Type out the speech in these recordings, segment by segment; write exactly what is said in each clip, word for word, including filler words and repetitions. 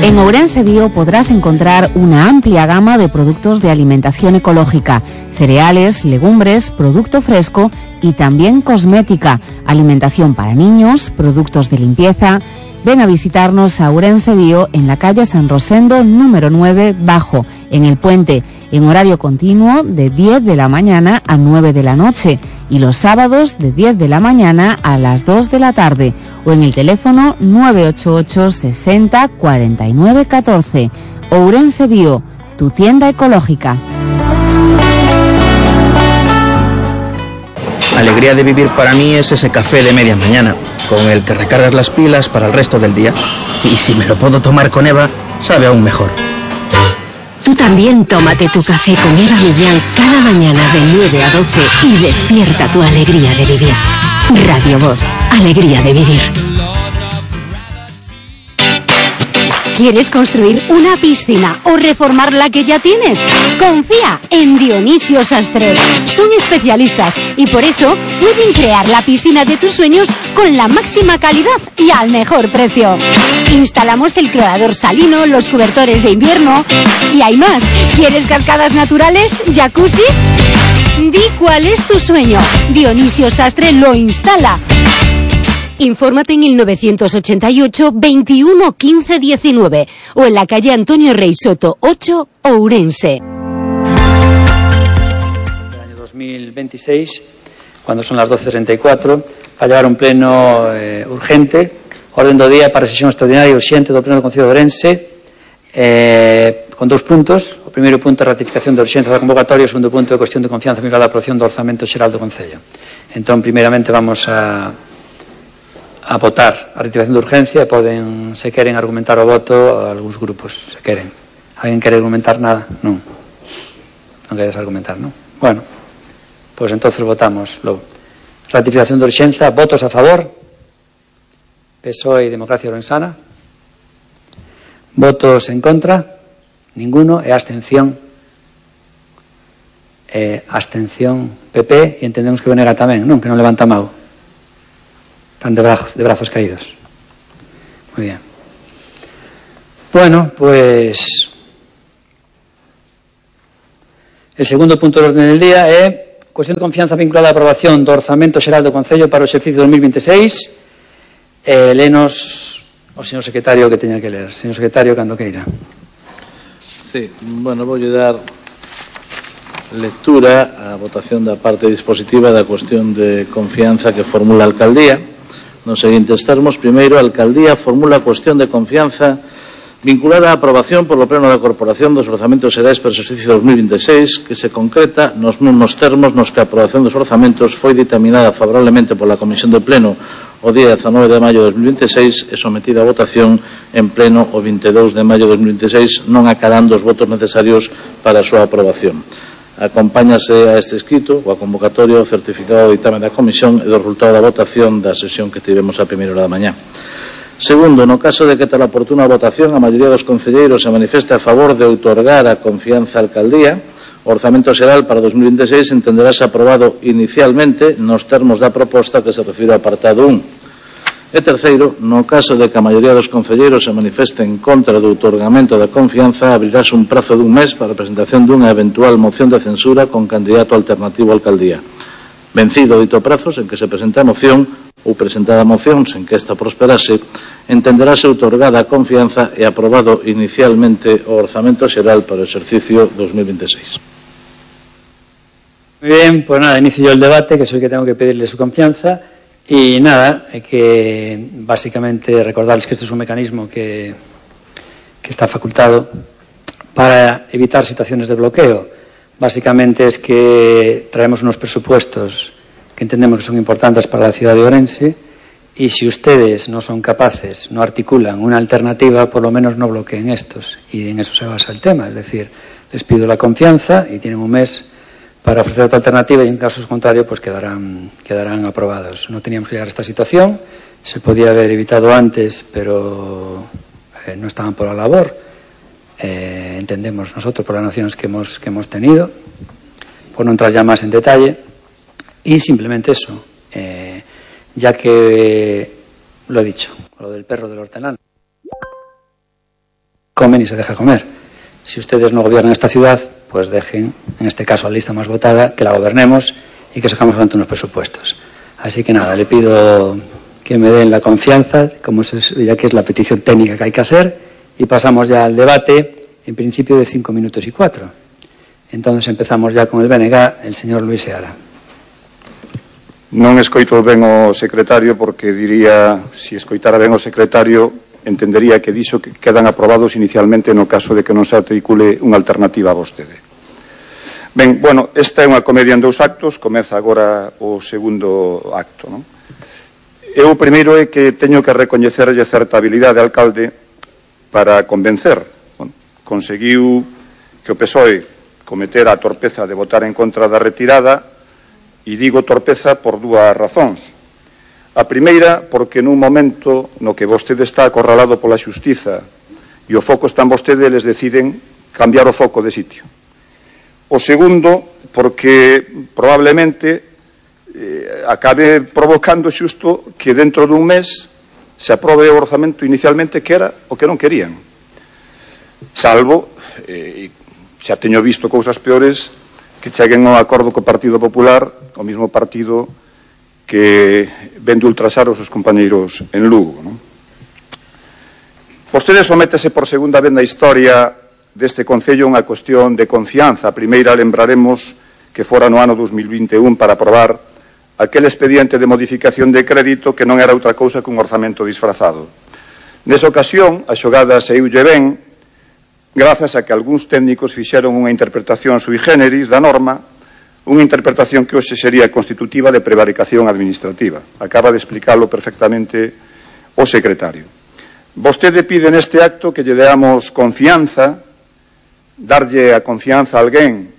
En Ourense Bio podrás encontrar una amplia gama de productos de alimentación ecológica, cereales, legumbres, producto fresco y también cosmética, alimentación para niños, productos de limpieza. Ven a visitarnos a Ourense Bio en la calle San Rosendo número nueve Bajo, en El Puente, en horario continuo de diez de la mañana a nueve de la noche y los sábados de diez de la mañana a las dos de la tarde o en el teléfono nueve ocho ocho sesenta cuarenta y nueve catorce. Ourense Bio, tu tienda ecológica. La alegría de vivir para mí es ese café de media mañana, con el que recargas las pilas para el resto del día. Y si me lo puedo tomar con Eva, sabe aún mejor. Tú también tómate tu café con Eva Millán cada mañana de nueve a doce y despierta tu alegría de vivir. Radio Voz, alegría de vivir. ¿Quieres construir una piscina o reformar la que ya tienes? Confía en Dionisio Sastre. Son especialistas y por eso pueden crear la piscina de tus sueños con la máxima calidad y al mejor precio. Instalamos el clorador salino, los cobertores de invierno y hay más. ¿Quieres cascadas naturales? ¿Jacuzzi? Di cuál es tu sueño. Dionisio Sastre lo instala. Infórmate en el novecientos ochenta y ocho, veintiuno, quince, diecinueve o en la calle Antonio Rey Soto ocho, Ourense. El año dos mil veintiséis, cuando son las doce treinta y cuatro, va a llevar un pleno eh, urgente, orden do día para a sesión extraordinaria e urxente do pleno do Concello de Ourense, eh, con dous puntos. O primeiro punto é a ratificación da urxencia da convocatoria, o segundo punto é a cuestión de confianza vinculada á aprobación do orzamento xeral do Concello. Entón, primeiramente vamos a a votar a ratificación de urgencia e poden, se queren, argumentar o voto a algúns grupos, se queren. Alguén quere argumentar nada? Non. Non queres argumentar, non? Bueno, pois entonces votamos logo. Ratificación de urxencia, votos a favor. P S O E e Democracia Ourensana. Votos en contra. Ninguno. E abstención. E abstención P P, e entendemos que Venega tamén, non? Que non levanta a mão. Están de brazos, de brazos caídos. Muy bien. Bueno, pues el segundo punto do orden del día é cuestión de confianza vinculada á aprobación do orzamento xeral do Concello para o exercicio dos mil veintiséis. Eh, lenos o señor secretario que teña que ler. Señor secretario, cando queira. Sí, bueno, voulle dar lectura á votación da parte dispositiva da cuestión de confianza que formula a Alcaldía. Nos seguintes termos, primeiro, a Alcaldía formula a cuestión de confianza vinculada á aprobación polo Pleno da Corporación dos orzamentos xerais para o exercicio dos mil veintiséis, que se concreta nos mesmos termos nos que a aprobación dos orzamentos foi dictaminada favorablemente pola Comisión de Pleno o día dezanove de maio de dos mil veintiséis e sometida a votación en Pleno o vinte e dous de maio de dos mil veintiséis, non acadando os votos necesarios para a súa aprobación. Acompáñase a este escrito o a convocatoria o certificado de ditame da Comisión e do resultado da votación da sesión que tivemos a primeira hora da mañá. Segundo, no caso de que tal oportuna votación a maioría dos concelleiros se manifeste a favor de outorgar a confianza á Alcaldía, o orzamento xeral para dos mil veintiséis entenderase aprobado inicialmente nos termos da proposta que se refire ao apartado un. E terceiro, no caso de que a maioría dos concelleiros se manifeste en contra do outorgamento da confianza, abrirase un prazo dun mes para a presentación dunha eventual moción de censura con candidato alternativo á Alcaldía. Vencido dito prazo, sen que se presente a moción, ou presentada a moción, sen que esta prosperase, entenderase outorgada a confianza e aprobado inicialmente o orzamento xeral para o exercicio dos mil veintiséis. Muy bien, pues nada, inicio yo el debate, que soy el que tengo que pedirle su confianza. Y nada, hay que básicamente recordarles que este es un mecanismo que, que está facultado para evitar situaciones de bloqueo. Básicamente es que traemos unos presupuestos que entendemos que son importantes para la ciudad de Ourense y si ustedes no son capaces, no articulan una alternativa, por lo menos no bloqueen estos. Y en eso se basa el tema, es decir, les pido la confianza y tienen un mes para ofrecer otra alternativa y en caso contrario pues quedarán, quedarán aprobados. No teníamos que llegar a esta situación, se podía haber evitado antes, pero eh, no estaban por la labor. Eh, entendemos nosotros por las nociones que hemos, que hemos tenido, por no entrar ya más en detalle, y simplemente eso, eh, ya que, eh, lo he dicho, lo del perro del hortelano. come ni se deja comer. Si ustedes no gobiernan esta ciudad, pues dejen, en este caso la lista más votada, que la gobernemos y que sacamos adelante unos presupuestos. Así que nada, le pido que me den la confianza, como se, ya que es la petición técnica que hay que hacer, y pasamos ya al debate, en principio de cinco minutos y cuatro. Entonces empezamos ya con el B N G, el señor Luis Seara. Non escoito ben o secretario porque diría, se escoitara ben o secretario, entendería que dixo que quedan aprobados inicialmente no caso de que non se articule unha alternativa a vostede. Ben, bueno, esta é unha comedia en dous actos, comeza agora o segundo acto, non? E o primeiro é que teño que recoñecerlle certa habilidade de alcalde para convencer. Bueno, conseguiu que o P S O E cometera a torpeza de votar en contra da retirada. E digo torpeza por dúas razóns. A primeira, porque nun momento no que vostede está acorralado pola xustiza e o foco está en vostede, eles deciden cambiar o foco de sitio. O segundo, porque probablemente eh, acabe provocando xusto que dentro dun mes se aprobe o orzamento inicialmente que era o que non querían. Salvo, eh, xa teño visto cousas peores, que cheguen ao acordo co Partido Popular, o mismo partido que ven de ultrasar os seus compañeiros en Lugo, non? Vostede sométese por segunda vez na historia deste Concello unha cuestión de confianza. A primeira lembraremos que fora no ano dos mil vinte e un para aprobar aquel expediente de modificación de crédito que non era outra cousa que un orzamento disfrazado. Nesa ocasión, a xogada saíulle ben, grazas a que algúns técnicos fixeron unha interpretación sui generis da norma, unha interpretación que hoxe sería constitutiva de prevaricación administrativa. Acaba de explicarlo perfectamente o secretario. Vostede pide neste acto que lle deamos confianza, darlle a confianza a alguén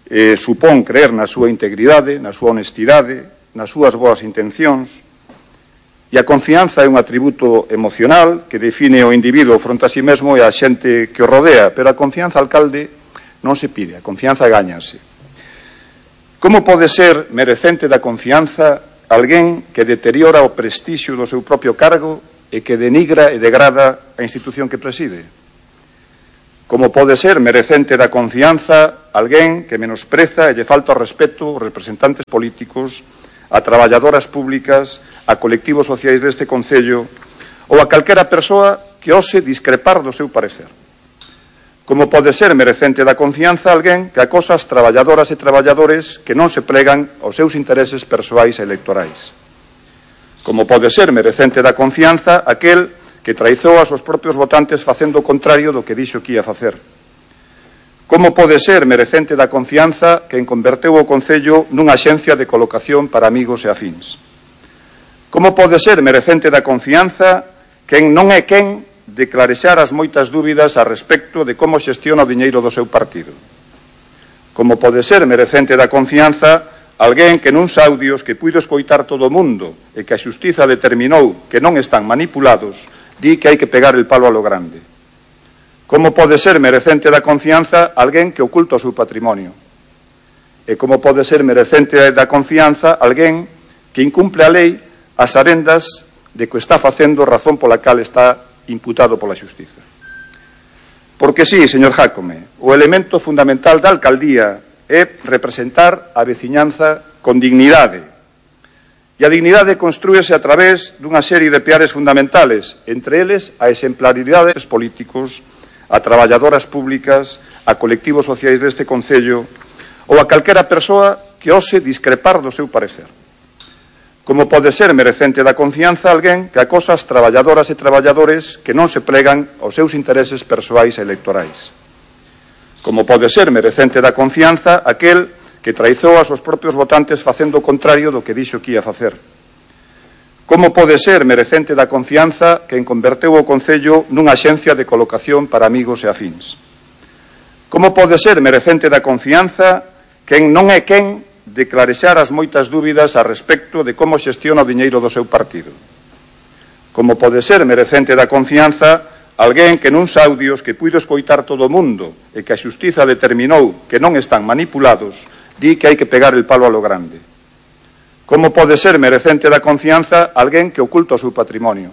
eh, supón creer na súa integridade, na súa honestidade, nas súas boas intencións, e a confianza é un atributo emocional que define o individuo fronte a si mesmo e a xente que o rodea, pero a confianza, alcalde, non se pide, a confianza gáñase. Como pode ser merecente da confianza alguén que deteriora o prestixio do seu propio cargo e que denigra e degrada a institución que preside? Como pode ser merecente da confianza alguén que menospreza e lle falta o respeto aos representantes políticos, a traballadoras públicas, a colectivos sociais deste Concello ou a calquera persoa que ose discrepar do seu parecer? Como pode ser merecente da confianza alguén que acosa as traballadoras e traballadores que non se plegan aos seus intereses persoais e electorais? Como pode ser merecente da confianza aquel que traizou aos seus propios votantes facendo o contrario do que dixo que ia facer? Como pode ser merecente da confianza quen converteu o Concello nunha axencia de colocación para amigos e afíns? Como pode ser merecente da confianza quen non é quen de clarexar as moitas dúbidas a respecto de como xestiona o diñeiro do seu partido? Como pode ser merecente da confianza alguén que nuns audios que puido escoitar todo o mundo e que a xustiza determinou que non están manipulados, di que hai que pegar el palo a lo grande? Como pode ser merecente da confianza alguén que oculta o seu patrimonio? E como pode ser merecente da confianza alguén que incumple a lei as arendas de que está facendo razón pola cal está imputado pola xustiza? Porque sí, señor Jácome, o elemento fundamental da alcaldía é representar a veciñanza con dignidade. E a dignidade construíse a través dunha serie de piares fundamentales, entre eles a exemplaridade dos políticos, a traballadoras públicas, a colectivos sociais deste Concello ou a calquera persoa que ose discrepar do seu parecer. Como pode ser merecente da confianza alguén que acosa as traballadoras e traballadores que non se plegan aos seus intereses persoais e electorais? Como pode ser merecente da confianza aquel que traizou aos seus propios votantes facendo o contrario do que dixo que ia facer? Como pode ser merecente da confianza quen converteu o Concello nunha axencia de colocación para amigos e afíns? Como pode ser merecente da confianza quen non é quen de clarexar as moitas dúbidas a respecto de como xestiona o diñeiro do seu partido? Como pode ser merecente da confianza alguén que nuns audios que puido escoitar todo o mundo e que a xustiza determinou que non están manipulados, di que hai que pegar el palo a lo grande? Como pode ser merecente da confianza alguén que oculta o seu patrimonio?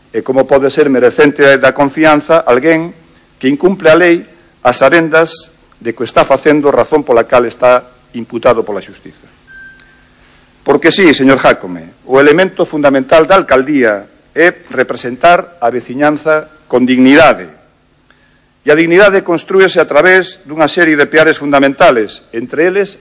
E como pode ser merecente da confianza alguén que incumple a lei as arendas de que está facendo razón pola cal está imputado pola xustiza. Porque sí, señor Jácome, o elemento fundamental da alcaldía é representar a veciñanza con dignidade. E a dignidade construíse a través dunha serie de piares fundamentales, entre eles